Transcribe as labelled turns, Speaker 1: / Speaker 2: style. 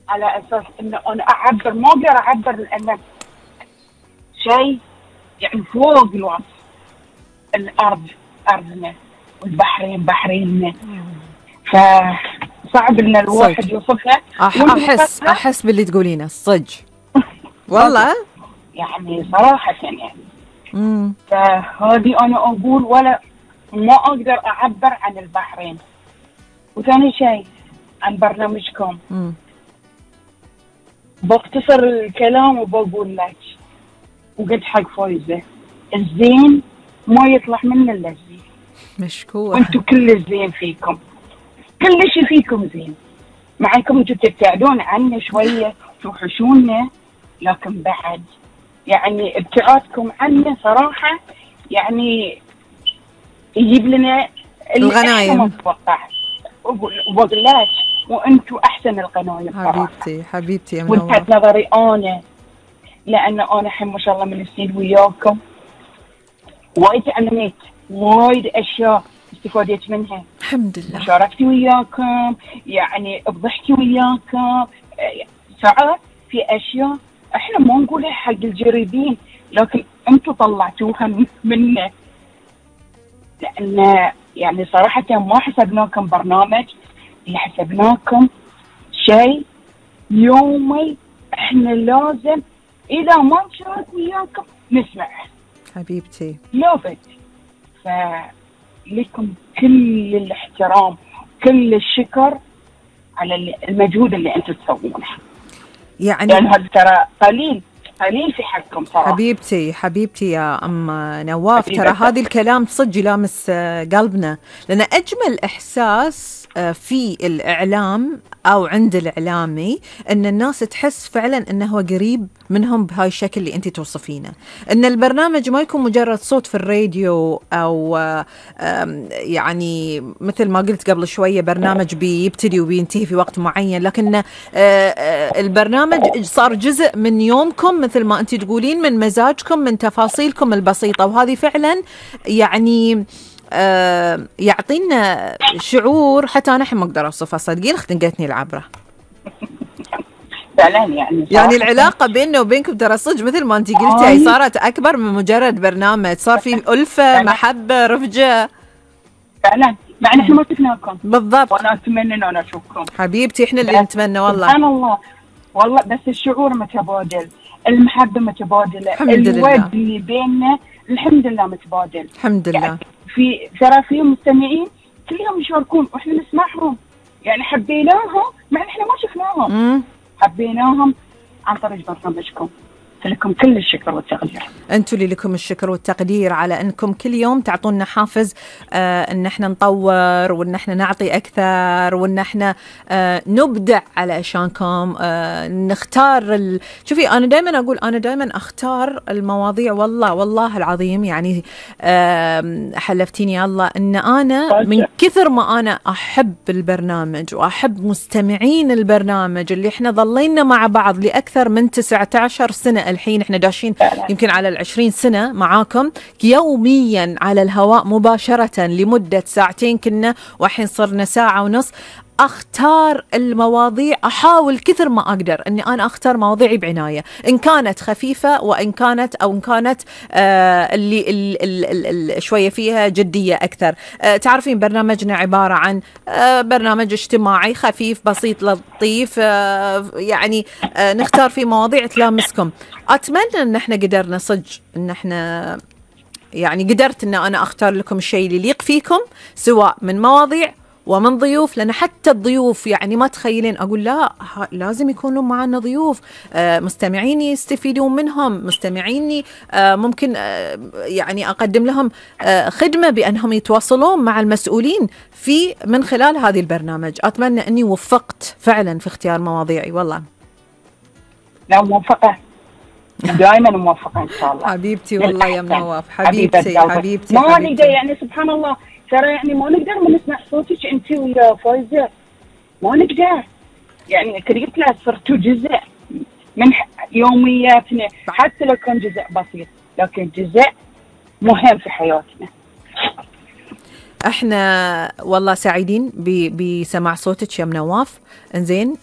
Speaker 1: على اساس انه انا اعبر، ما اقدر اعبر لان شيء يعني فوق الوصف. الارض ارضنا والبحرين بحريننا، فصعب ان الواحد يوصفها.
Speaker 2: احس باللي تقولينه الصج والله
Speaker 1: يعني صراحه يعني. فهذه انا اقول ولا ما اقدر اعبر عن البحرين. وثاني شيء عن برنامجكم، بختصر الكلام وبقول لك وقلت حق فايزة، الزين ما يطلع منه الا الزين.
Speaker 2: مشكور.
Speaker 1: وانتم كل الزين فيكم، كل شيء فيكم زين، مع انكم انتم تبتعدون عنا شويه توحشونا، لكن بعد يعني ابتعادكم عنا صراحه يعني يجيب لنا
Speaker 2: الغنايم.
Speaker 1: ما نتوقع. وبقول لك وانتم احسن الغنايم صراحه.
Speaker 2: حبيبتي يا
Speaker 1: منور. وانت نظري انا، لان انا الحين ما شاء الله من السنين وياكم وايد تعلمت وايد اشياء استفادت منها
Speaker 2: الحمد لله.
Speaker 1: شاركتي وياكم، يعني بضحكي وياكم. ساعات في اشياء احنا ما نقولها حق الجريبين، لكن انتم طلعتوها منا، لان يعني صراحه ما حسبناكم برنامج، اللي حسبناكم شيء يومي احنا لازم اذا ما نشارك وياكم نسمع.
Speaker 2: حبيبتي
Speaker 1: لا بد. فلكم كل الاحترام، كل الشكر على المجهود اللي انتم تسوونه،
Speaker 2: يعني
Speaker 1: لان هذا ترى قليل في حقكم صراحه.
Speaker 2: حبيبتي يا ام نواف، ترى هذا الكلام صدق لامس قلبنا، لان اجمل احساس في الاعلام او عند الاعلامي ان الناس تحس فعلا انه هو قريب منهم بهاي الشكل اللي انت توصفينه، ان البرنامج ما يكون مجرد صوت في الراديو او يعني مثل ما قلت قبل شويه برنامج بيبتدي وبينتهي في وقت معين، لكن البرنامج صار جزء من يومكم مثل ما انت تقولين، من مزاجكم، من تفاصيلكم البسيطه، وهذه فعلا يعني يعطينا شعور حتى انا الحين ما اقدر اوصفها، صدقين خنقتني العبره
Speaker 1: فعلا.
Speaker 2: يعني العلاقه بيننا وبينكم ترى صدق مثل ما انت قلتي هي صارت اكبر من مجرد برنامج، صار في الفه محبه رفجه
Speaker 1: فعلا، مع ان احنا ما شفناكم
Speaker 2: بالضبط،
Speaker 1: وانا اتمنى ان انا اشوفكم.
Speaker 2: حبيبتي احنا اللي نتمنى والله.
Speaker 1: سبحان الله والله، بس الشعور متبادل، المحبه متبادله، الود اللي بيننا الحمد لله متبادل
Speaker 2: الحمد لله.
Speaker 1: يعني في ترى في مستمعين كل يوم يشاركون واحنا نسمعهم، يعني حبيناهم مع ان احنا ما شفناهم. حبيناهم عن طريق برنامجكم، فلكم كل الشكر والتقدير.
Speaker 2: انتم اللي لكم الشكر والتقدير على انكم كل يوم تعطونا حافز ان احنا نطور وان احنا نعطي اكثر وان احنا نبدع علشانكم، نختار شوفي انا دائما اقول انا دائما اختار المواضيع، والله العظيم يعني حلفتيني يا الله ان انا من كثر ما انا احب البرنامج واحب مستمعين البرنامج اللي احنا ظلينا مع بعض لاكثر من 19 سنه، الحين احنا داشين يمكن على 20 سنة معاكم يوميا على الهواء مباشرة لمدة ساعتين كنا، والحين صرنا ساعة ونص. اختار المواضيع، احاول كثر ما اقدر اني انا اختار مواضيعي بعناية، ان كانت خفيفة وان كانت او ان كانت اللي شوية فيها جدية اكثر. تعرفين برنامجنا عبارة عن برنامج اجتماعي خفيف بسيط لطيف، يعني نختار فيه مواضيع تلامسكم. اتمنى ان احنا قدرنا صدق ان احنا يعني قدرت ان انا اختار لكم الشيء اللي يليق فيكم، سواء من مواضيع ومن ضيوف، لأن حتى الضيوف يعني ما تخيلين أقول لا لازم يكونوا معنا ضيوف مستمعيني يستفيدون منهم، مستمعيني ممكن يعني أقدم لهم خدمة بأنهم يتواصلون مع المسؤولين من خلال هذه البرنامج. أتمنى أني وفقت فعلا في اختيار مواضيعي والله.
Speaker 1: لا موفقة، دائما موفقة إن شاء الله
Speaker 2: حبيبتي والله يا نواف، حبيبتي
Speaker 1: ما نقدر يعني سبحان الله ترى يعني ما نقدر ما نسمع صوتك انت ويا فايزة، ما نقدر يعني قلت لها صرتوا جزء من يومياتنا، حتى لو كان جزء بسيط لكن جزء مهم في حياتنا.
Speaker 2: احنا والله سعيدين بسماع صوتك يا نواف. انزين